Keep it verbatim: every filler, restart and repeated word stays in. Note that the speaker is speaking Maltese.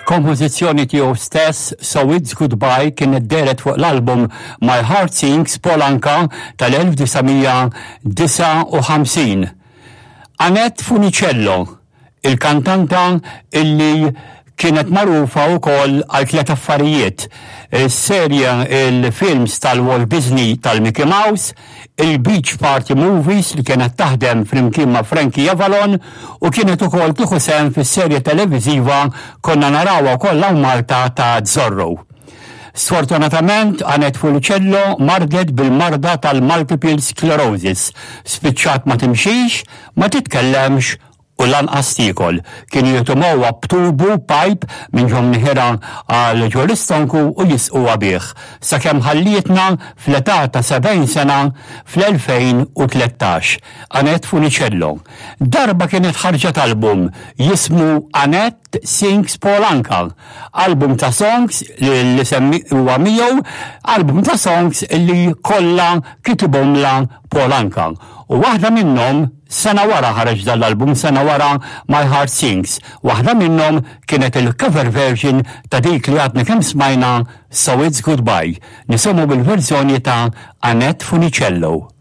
Kompożizzjoni tiegħu stess, So It's Goodbye, kienet dehret fuq l-album My Heart Sings Paul Anka tal-elf disa' mija disgħa u ħamsin. Annette Funicello, il-kantanta illi kienet magħrufa wkoll għal tliet affarijiet. Is-serja il-films tal-Walt Disney tal-Mickey Mouse, il-Beach Party Movies li kienet taħdem flimkien ma' Frankie Avalon u kienet ukoll tieħu sehem fis-serje televiżiva, konna narawha wkoll hawn Malta, ta' Zorro. Sfortunatament, Annette Funicello mardet bil-marda tal-multiple sclerosis. Spiċċat ma timxix, ma titkellemx u lanqas tiekol. Kienu jitimgħuha b'tubu, pipe, minn ġo mniħirha għal ġo l-istonku u jisquha bih. Sakemm ħallietna fl-età ta' sebgħin sena fl-elfejn u tlettax. Annette Funicello. Darba kienet ħarġet album jismu Annette Sings Paul Anka. Album ta' songs li li semmi huwa miegħu, album ta' songs li kollha kitibhomlha Paul Anka. U waħda minnhom, sena wara ħareġ dal-album, sena wara My Heart Sings. Waħda minnhom kienet il-cover version ta' dik li għadna kemm smajna, So It's Goodbye. Nisimgħu bil-verżjoni ta' Annette Funicello.